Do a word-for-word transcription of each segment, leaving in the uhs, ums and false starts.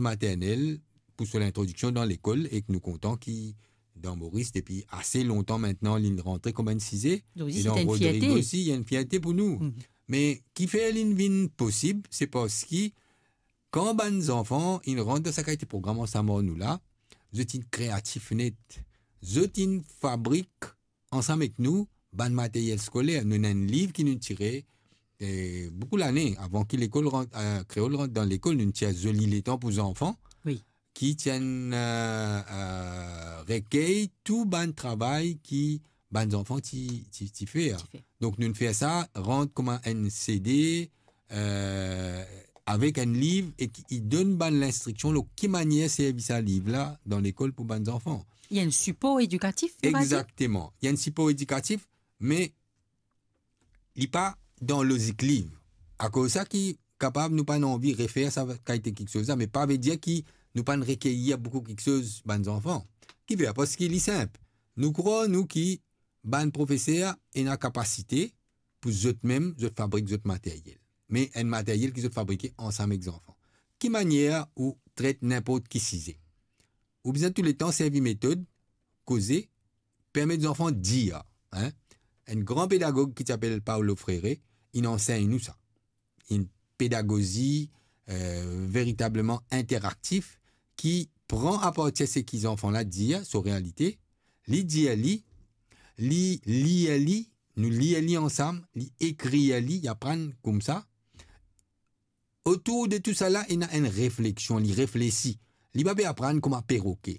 maternel pou so lintrodiksion dan lekol, ek nou kontan ki dan Moris, depi ase lontan mintnan, li rantre kouma enn size. Donk, e se dan enn Rodrig fierte. Osi, li enn fierte pou nou. Mhm. Me kifer li vinn posib, se parski kan bann zanfan inn rant dan sa kalite program ansam ar nou la, zot inn kreatif net. Zot inn fabrik ansam ek nou bann materyel skoler. Nou ena enn liv ki nou tire, eh, boukou lane, avan ki lekol rant, eh, kreol rant dan lekol, nou tir Zoli Letan pou Zanfan, wi, ki ti enn, eh, eh, rekey tou bann travay ki bann zanfan ti, ti, ti fer. Ti fer. Donk, nou fer sa rant kouma enn C D, eh, avek enn liv e ki, li donn bann linstriksion lor ki manier servi sa liv la dan lekol pou bann zanfan. Li enn sipor edikatif, nou va dir? Egzakteman. Li enn sipor edikatif, me li pa dan lozik liv. Akoz sa ki kapav nou pa'nn anvi refer sa kalite kiksoz la, me pa vedir ki nou pa'nn rekeir boukou kiksoz bann zanfan. Kifer? Parski li sinp. Nou krwar, nou, ki bann profeser ena kapasite pou zot mem, zot fabrik zot materyel. Me enn materyel ki zot fabrike ansam ek zanfan. Ki manier ou tret ninport ki size? Ou bizin touletan servi metod koze, permet zanfan dir, hein? Enn gran pedagog ki ti apel Paulo Freire, inn ansegn nou sa. Enn pedagozi, eh, veritableman interaktif ki pran apartir seki zanfan la dir, so realite, li dir li, li lir li, nou lir li ansam, li ekrir li, li aprann koumsa. Otour de tou sa la, ena enn refleksion, li reflesi. Li pa pe aprann kouma peroke.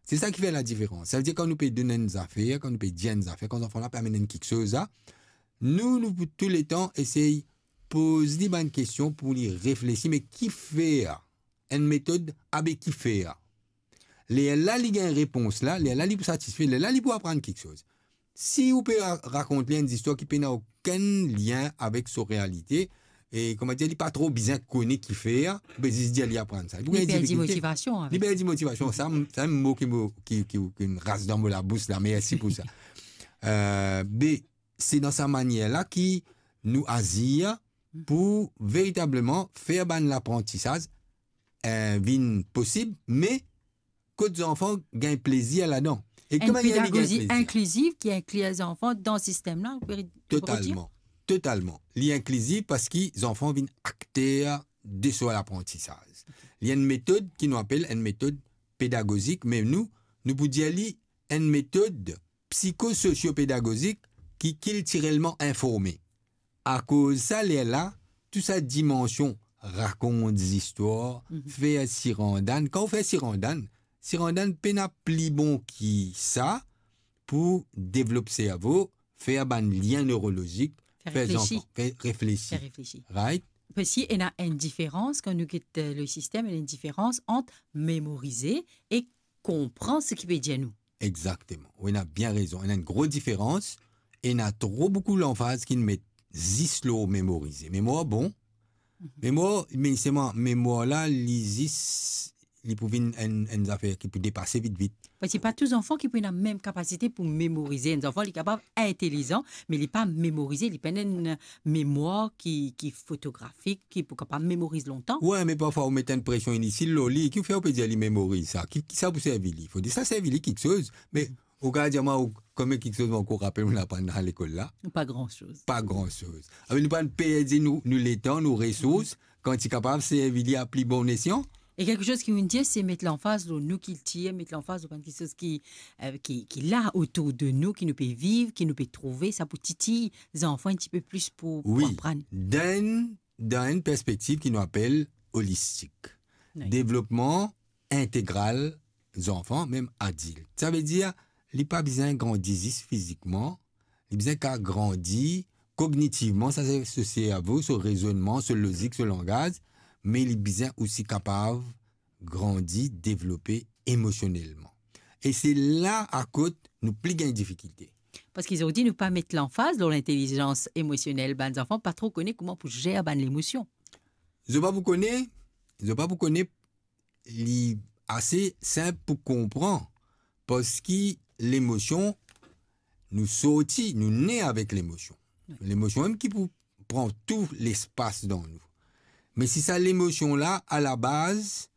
Se sa ki fer ladiferans. Savedir kan nou pe donn enn zafer, kan nou pe dir enn zafer, kan zanfan la pe amenn enn kiksoz la, nou, nou pou touletan esey poz li bann kestion pou li reflesi, me kifer? Enn metod, abe kifer? Lerla li gagn repons la, lerla li pou satisfe, lerla li pou aprann kiksoz. Si ou pe ra-, rakont li enn zistwar ki pena okenn lien avek so realite, e, kouma dir, li pa tro bizin kone kifer, ou pe zis dir li aprann sa. Li pou gagn difikilte. Li perdi motivasion avek sa. Li perdi motivasion. Sa, sa enn mo ki mo, ki, ki, ki ras dan mo labous la, mersi pou sa. Eh, be, se dan sa manier la ki nou azir pou veritableman fer bann laprantisaz, eh, vinn posib, me kot zanfan gagn plezir ladan. E enn ki manier li gagn plezir? Pedagozi inkliziv ki inkli zanfan dan sistem la, ou pe, ou pe dir? Totalman, totalman. Li inkliziv parski zanfan vinn akter de so laprantisaz. Li enn metod ki nou apel enn metod pedagozik, me nou, nou pou dir li enn metod psikososio-pedagozik ki kiltirelman informe. Akoz sa, lerla, tou sa dimansion rakont zistwar, mhm, fer sirandann. Kan ou fer sirandann, sirandann pena pli bon ki sa pou devlop servo, fer bann lien nerolozik, fer zanfan, fer reflesi. Fer reflesi. Right? Parski ena enn diferans, kan nou get, eh, le sistem, ena enn diferans ant memorize e konpran seki pe dir nou. Egzakteman. Ou ena bien rezon. Ena enn gro diferans. Ena tro boukou lanfaz ki met zis lor memorize. Memwar bon. Mhm. Memwar, me selman memwar la, li zis, li pou vinn enn, enn zafer ki pou depase vit vit. Parski pa tou zanfan ki pou ena mem kapasite pou memorize. Enn zanfan, li kapav intelizan, me li pa memorize, li pena enn memwar ki, ki fotografik, ki pou kapav memoriz lontan. Wi, me parfwa ou met enn presion initil lor li, ki fer ou pe dir li memoriz sa? Ki, ki sa pou servi li? Fode sa servi li kiksoz, me ou kapav dir mwa, ou, konbien kiksoz mwa ou rapel ou aprann dan lekol la? Pa gran soz. Pa gran soz. Abe nou pa'nn perdi nou, nou letan, nou resours, kan ti kapav servi li a pli bon esyan. E kiksoz ki ou'nn dir, se met lanfaz lor nou kiltir, met lanfaz lor bann kiksoz ki, eh, ki, ki la otour de nou, ki nou pe viv, ki nou pe trouve, sa pou titiy zanfan enn tipe plis pou, pou aprann. Wi, dan enn, dan enn perspektiv ki nou apel olistik. Wi. Devlopman integral zanfan, mem adilt. Savedir, li pa bizin grandi zis fizikman, li bizin kapav grandi kognitivman, sa se so servo, so rezonnman, so lozik, so langaz, me li bizin osi kapav grandi, devlope emosionelman. E se la akot nou pli gagn difikilte. Parski zordi nou pa met lanfaz lor lintelizans emosionel, bann zanfan pa tro kone kouma pou zer bann lemosion. Zot pa pou kone, zot pa pou kone, li ase sinp pou konpran, parski lemosion, nou sorti, nou ne avek lemosion. Wi. Lemosion mem ki pou pran tou lespas dan nou. Me si sa lemosion la, alabaz,